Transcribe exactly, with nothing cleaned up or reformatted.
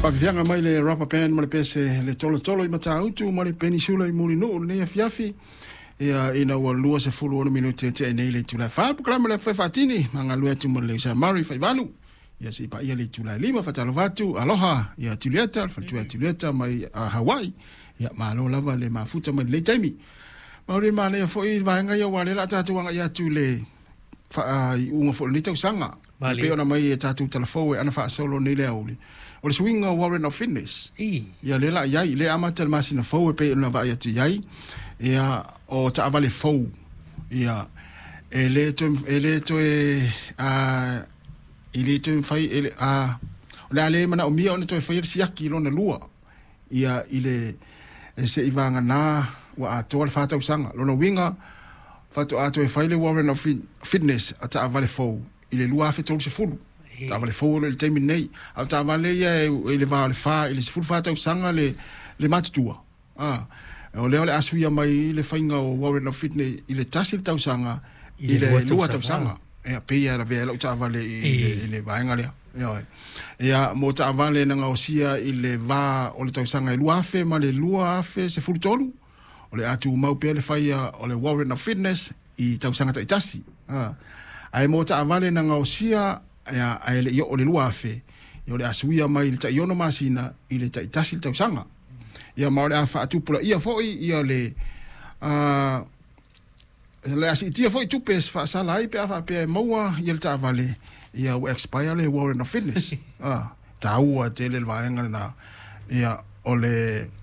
Faafefiaga mai le Rubber Band ma le pese le tolotolo i Matautu ma le Penisula i Mulinuu lenei afiafi. Ia ina ua lua sefulu ono minute e tea nei le itula e fa. Polokalame le fai faatini, ma galue atu ma le usa Murray Faivalu. Ia seia paia le itula e lima. Faatalofa atu, aloha ia Julieta, le faletua ia Julieta mai uh, Hawaii. Ia malo lava le mafuta mai lenei taimi. Mauri manaia foi vaega ia ua le la tatou agai atu le faaiuga foi o lenei tausaga. Malie. E pei ona mai e tatou talafou e ana faasolo nei le aoauli. O le suiga o warrant of fitness. I. Ia lea la iai, lea amata le masina fou e pei ona vaai atu iai. Ia o taavale fou. Ia e le toe e le toe a e le toe fai e le a o le a le manaomia ona toe faia le siaki lona lua. Ia i le e se i vagana ua atoa le fa tausaga. Lona uiga faatoa toe fai le warrant of fit- fitness a taavale fou i le lua afe tolu sefulu. Taavale fou o lo o i le taimi nei. A o taavale ia e, i le va o le fa i le sefulu fa tausaga le, le matutua. Ah, o lea o le a suia mai le faiga o warrant of fitness i le tasi le tausaga I i le le lua lua tausaga. tausaga. Ia pei e lavea ai lau taavale i, i, le, i le vaega lea. Ia, ia mo taavale na gaosia i le va o le tausaga e lua afe ma le lua afe sefulu tolu, o le a tumau pea le faia o le warrant of fitness i tausaga taitasi. Ah. Ae mo taavale na gaosia ia, ae le i oo le lua afe, ia o le a suia mai le tai ono masina i le taitasi le tausaga. Ia ma o le a faatupulaia foi ia le uh, le a siitia foi tupe e faasala ai pe a faapea e maua ia le taavale ia ua expire le warrant of fitness. Ah, taua tele le vaega lena. Ia o le